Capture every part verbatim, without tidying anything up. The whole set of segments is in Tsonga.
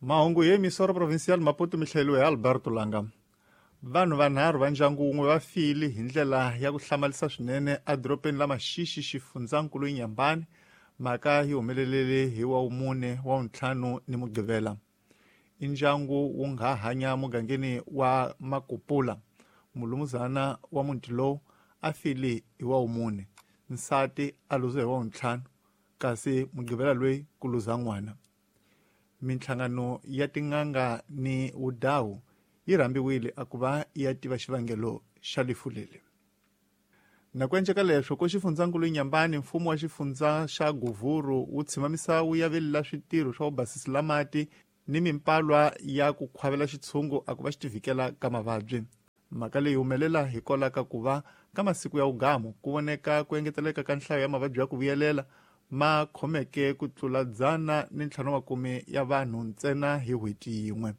Mahungu hi emisora provincial Maputo mi hlayeriwe hi Alberto Langa. Vanhu vanharhu va ndyangu wun'we va file hi ndlela ya ku hlamarisa swinene edorobeni la Maxixi xifundzankulu Inhambane. Mhaka yi humelelele hi wa wumune wa wuntlhanu ni Mugqivela. I ndyangu wu nga hanya mugangeni wa Makupula. Mulumuzana wa muti lowu a file hi wa wumune, nsati a luza hi wa wuntlhanu, kasi Mugqivela loyi ku luza n'wana. Minhlangano ya tin'anga ni wudawu yi rhambiwile a ku va ya tiva xivangelo xa lifu leli. Na ku enceka leswo ko xifundzankulu Inhambane, mfumo wa xifundza xa Govuro wu tshima misawu ya velela switirho swa vubasisi la mati ni mimpalwa ya ku khwavela xitshungu a ku va xi tivikela ka mavabyi. Mhaka leyi humelela hikwalaho ka ku va ka masiku ya ugamu ku voneka ku engeteleka ka nhlayo ya mavabyi ya ku vuyelela ma khomeke ku tlula dzana ni ntlhanu makume ya vanhu ntsena hi n'hweti yin'we.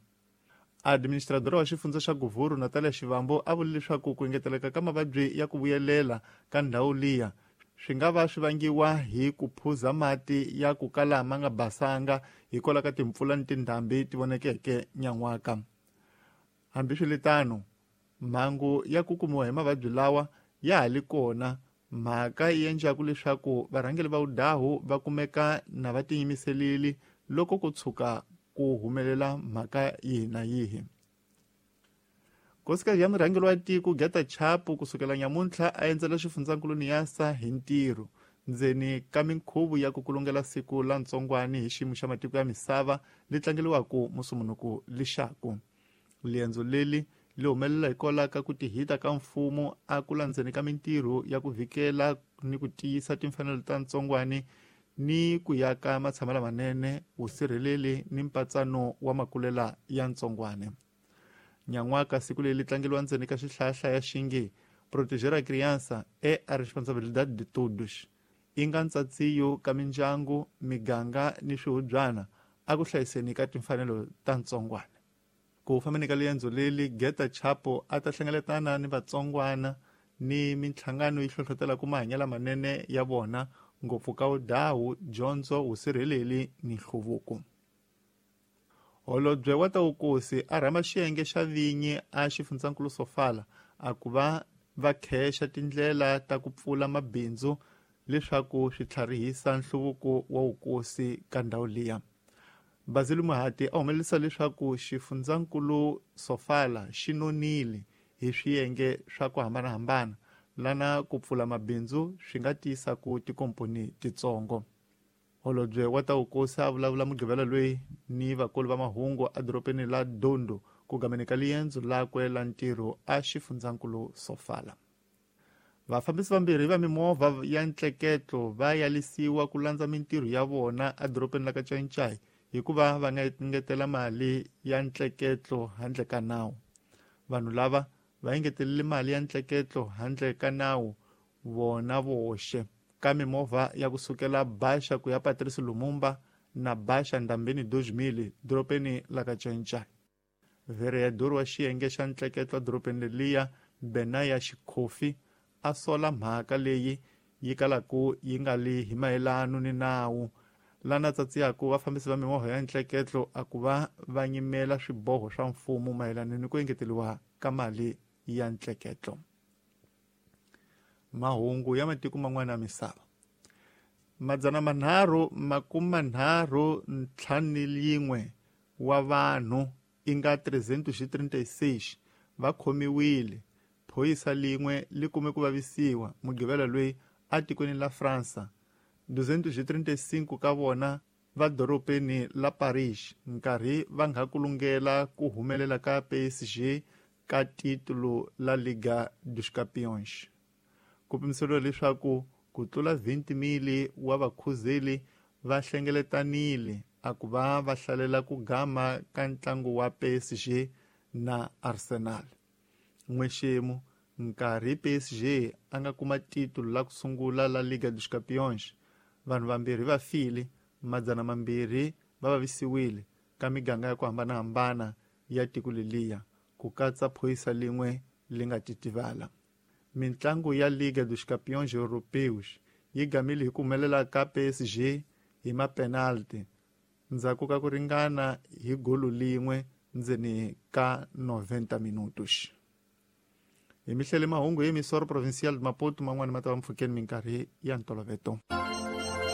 Administradora wa xifundza xa Govuro Natalia Xivambo a vule leswaku ku engeteleka ka mavabyi ya ku vuyelela ka ndhawu liya swi nga va swi vangiwa hi ku phuza mati ya ku kala ma nga basanga hikwalaho ka timpfula ni tindhambi ti vonekeke nyan'waka. Hambiswiritano, mhangu ya ku kumiwa hi mavabyi lawa ya ha li kona, mhaka yi endlaku leswaku varhangeri va wudahu va kumeka na va tiyimiselile loko ku tshuka ku humelela mhaka yihi na yihi. Nkosikazi ya murhangeri wa tiko Geta Chapo kusukela nyamuntlha a endzela xifundzankulu Niassa hi ntirho ndzeni ka minkhuvo ya ku kulungela siku la ntsongwani hi xiyimo xa matiko ya misava li tlangeliwaka musumunuku lixaku. Liendzo leli li humelela hikwalaho ka ku tihita ka mfumo a ku landzeni ka mintirho ya ku vikela ni ku tiyisa timfanelo ta ntsongwani ni ku ya ka matshamo lamanene, vusirheleli ni mpatsano wa makulela ya ntsongwane. Nyan'waka siku leri tlangeliwa ndzeni ka xihlahla ya xinge Proteger a Criança é a responsabilidade de todos, i nga ntsatsiyo ka mindyangu, miganga ni swihubyana a ku hlayiseni ka timfanelo ta ntsongwana. Ku fambeni ka liendzo leli, Geta Chapo a ta hlengeletana ni vatsongwana ni minhlangano yi hlohlotelaka mahanyelo lamanene ya vona ngopfu ka wudawu, dyondzo, vusirheleli ni nhluvuko. Holobye wa ta vukosi a rhamba xiyenge xa vinyi a xifundzankulu Sofala a ku va va khexa tindlela ta ku pfula mabindzu leswaku swi tlharihisa nhluvuko wa vukosi ka ndhawu liya. Basil Muhati a humelerisa leswaku xifundzankulu Sofala xi nonile hi swiyenge swa ku hambanahambana lana ku pfula mabindzu swi nga tiyisa ku tikomponi titsongo. Holobye wa ta vukosi a vulavula Mugqivela loyi ni vakulu va mahungu edorobeni la Dondo ku gameni ka liendzo lakwe la ntirho a xifundzankulu Sofala. Vafambisi vambirhi va mimovha ya ntleketlo va yalisiwa ku landza mintirho ya vona edorobeni la ka Ncaincayi hikuva va nga engetela mali ya ntleketlo handle ka nawu. Vanhu lava va engetelele mali ya ntleketlo handle ka nawu vona voxe ka mimovha ya kusukela Baxa ku ya Patrice Lumumba na Baxa Ndambeni dois mil dorobeni la ka Ncaincayi. Vereador wa xiyenge xa ntleketlo edorobeni leliya Benaya Xikhofi a sola mhaka leyi yi kalaku yi nga li hi mayelano ni nawu lana tsatsiyaku vafambisi va mimovha ya ntleketlo a ku va va nyimela swiboho swa mfumo mayelana ni ku engeteriwa ka mali ya ntleketlo. Mahungu ya matiko man'wana ya misava. Madzana manharhu makume manharhu ntlhanu yin'we wa vanhu i nga trezentos e trinta e seis va khomiwile. Phorisa lin'we li kume ku vavisiwa Mugqivela loyi atikweni la Fransa. duzentos e trinta e cinco ka vona va dorobeni la Paris nkarhi va nga kulungela ku humelela ka P S G ka titulo la Liga dos Campeões. Ku pimiseriwa leswaku ku tlula vinte mil wa vakhuzeli va hlengeletanile a ku va va hlalela ku gama ka ntlangu wa P S G na Arsenal. N'wexemu nkarhi P S G a nga kuma titulo la ku sungula la Liga dos Campeões, vanhu vambirhi va file, madzana mambirhi va vavisiwile ka miganga ya ku hambanahambana ya tiko leliya, ku katsa phorisa lin'we li nga titivala. Mintlangu ya Liga dos Campeões Europeus yi gamile hi ku humelela ka P S G hi mapenalti ndzhaku ka ku ringana hi golo lin'we ndzeni ka noventa minutos. Hi mihlele mahungu hi Emissora Provincial de Maputo, man'wani ma ta va mpfhukeni minkarhi ya ntoloveto.